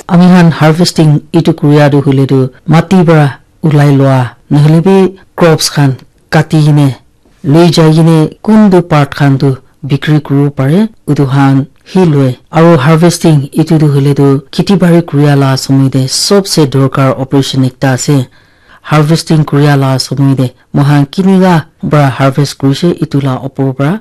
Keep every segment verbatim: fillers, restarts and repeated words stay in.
Ami khan harvesting etu kuria tu hoile tu mati para ulai loa, nohole bi crops khan kati kene loi jai kene kuntu part khan tu bikri kuribo pare, utu khan hi loi. Aru harvesting etu tu hoile tu kheti bari kuria la somoi te sobse dorkar operation ekta ase. Harvesting kuria la somoi te moikhan kinika para harvest kurishe, etu la opor para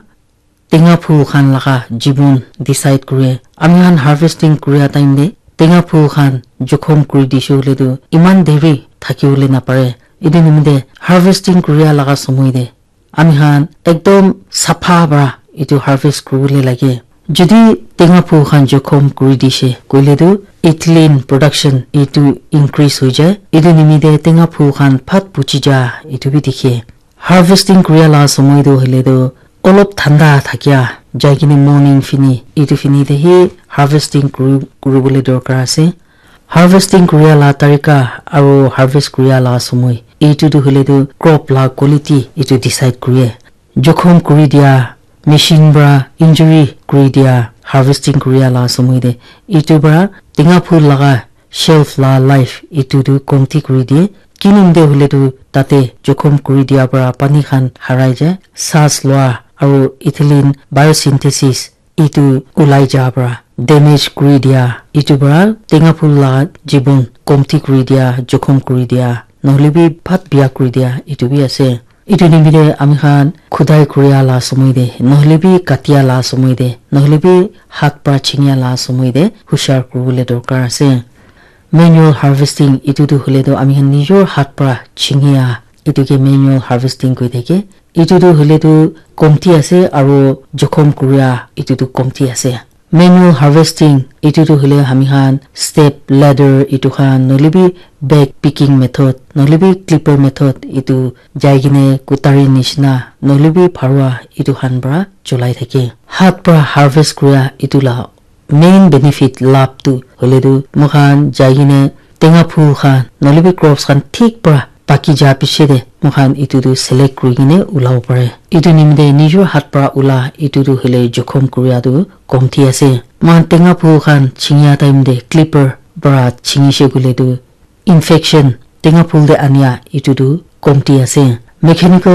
tenga phul khan laga jibon decide kure. Ami khan harvesting kuria time te tenga phul khan jokhom kuri dishe hoile tu eman deri thaki bole napare. Etu nimite harvesting kuria laga somoi te ami khan ekdom sapha para etu harvest kuri bole lage. Jodi tenga phul khan jokhom kuri dishe koile tu ethylene production etu increase hoi jai. Etu nimite tenga phul khan phat puchi ja etu bi dikhe. Harvesting kuria la somoi tu hoile tu olop thanda thakia jai kene morning fini etu fini te hi harvesting kuri, kuri bole dorkar ase. Harvesting kuria la tarika aru harvest kuria la somoi etu tu hoile tu crop la quality etu decide kure. Jokhom kuri dia machine para injury kuri dia harvesting kuria la somoi te etu para tenga phul laga shelf la life etu tu komti kuri die. Kinimite hoile tu tate jokhom kuri dia para pani khan harai jai, sas loa aru ethylene biosynthesis etu ulai ja para damage kuri dia etu para tenga phul la jibon komti kuri dia, jokhom kuri dia, nohole bi phat bia kuri dia etu bi ase. Etu nimite ami khan khudai kuria la somoi te nohole bi katia la somoi te nohole bi hat para chingia la somoi te hushar kuri bole dorkar ase. Manual harvesting etu tu hoile tu ami khan nijor hat para chingia etu ke manual harvesting koi thake. Etu tu hoile tu komti ase aru jokhom kuria etu tu komti ase. Manual harvesting etu tu hoile ami khan step ladder etu khan nohole bi bag picking method nohole bi clipper method etu jai kene kutari nishina nohole bi pharua etu khan para cholai thake. Hat para harvest kuria etu la main benefit lab tu hoile tu moikhan jai kene tenga phul khan nohole bi crops khan thik para paki ja piche te moikhan etu tu select kuri kene ulabo pare. Etu nimite nijor hat para ula etu tu hoile jokhom kuria tu komti ase. Moikhan tenga phul khan chingia time te clipper para chingishe koile tu infection tenga phul te ania etu tu komti ase. Mechanical